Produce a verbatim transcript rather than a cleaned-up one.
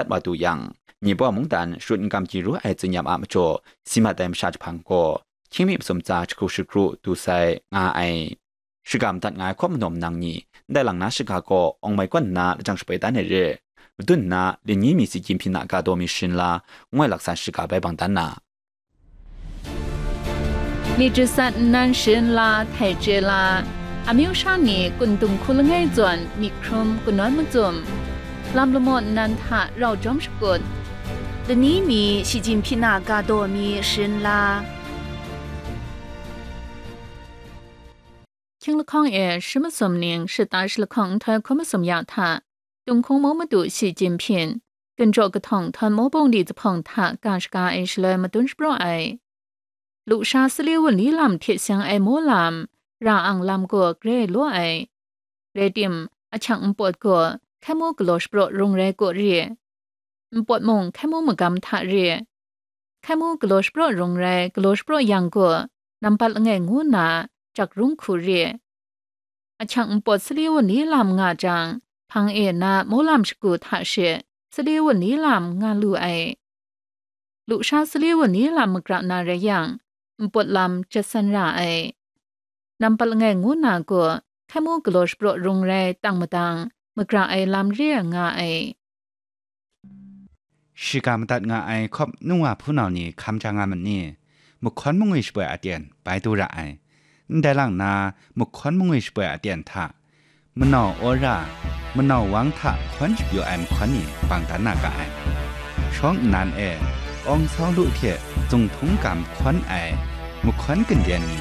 dat wa du yang, Nibaw mungdan sharut n-gam gyi ru ai tsun-yam a majaw, si mat ai masha jahpang gaw, hkying mi masum tsa jahku shakru du sai nga ai. Shiga madat nga ai hkawm majaw nang ni, ndai lang na shiga gaw awng mai kawn nna lajang shapai dan ai re. Madun nna, lani mi si Jinping a ga daw mi sharin la, ngoi laksa shiga bai bang dan na. นี่จะสัตว์นั้นเชิญลาไทยเจลา อามิวชานีกุนตุงคุลง่ายจวนมีครุมกุนน้อยมาจุ่ม ลำละมอนนันทะเราจอมสกุล เดยวนี้มีสีจินพินากาโดมีเชิญลา คิงละคองเอชิมสมนิงชะตาชละคองทอยคมสมยาทะ တုန်ခုံမိုးမတူရှီကျင့်ဖြင့် ကင်ကျော်ကထောင်ထွန်မိုးပုံးဒီတဖုံထကၢ်ရှကားအင်ရှလွဲမတွန်းရှပရော့အိုင်လူရှာစလေးဝလီလမ်ထစ်ဆင်အိုင်မိုးလမ်ရာအောင်လမ်ကိုဂရဲလိုအိုင်ရဲတင်အချောင်မပွတ်ကိုခဲမိုးကလောရှပရော့ရုံရဲကိုရီမပွတ်မုံခဲမိုးမကမ်ထရီခဲမိုးကလောရှပရော့ရုံရဲကလောရှပရော့ယံကိုနံပါတ်အငယ်ငိုးနာကြက်ရုံခုရီ အချောင်မပွတ်စလေးဝလီလမ်ငါကြံ ဖင်အ့နာမိုးလမ်ရှကူထရှေစလေးဝလီလမ်ငါလူအိုင်လူရှာစလေးဝလီလမ်မကြၢးနာရဲယံမပွတ်လမ်ကျက်ဆန်ရာအိုင်နံပါတ်ငယ်ငိုးနာကိုခဲမိုးကလောရှပရော့ရုံရဲတံမတံမကြၢးအိုင်လမ်ရဲငါအိုင် Shiga madat nga ai hkawp nungwa hpunau ni hkam ja nga myit ni? Mahkawn mangwi shapoi aten bai du ra ai. Ndai lang na, mahkawn mangwi shapoi aten hta, manau Aura, manau Wang hta hkawn shapyu ai mahkawn ni bang dan na ga ai. Shawng nnan e, Awng Sau Lu hte Zunghtung Gam hkawn ai mahkawn ganden ni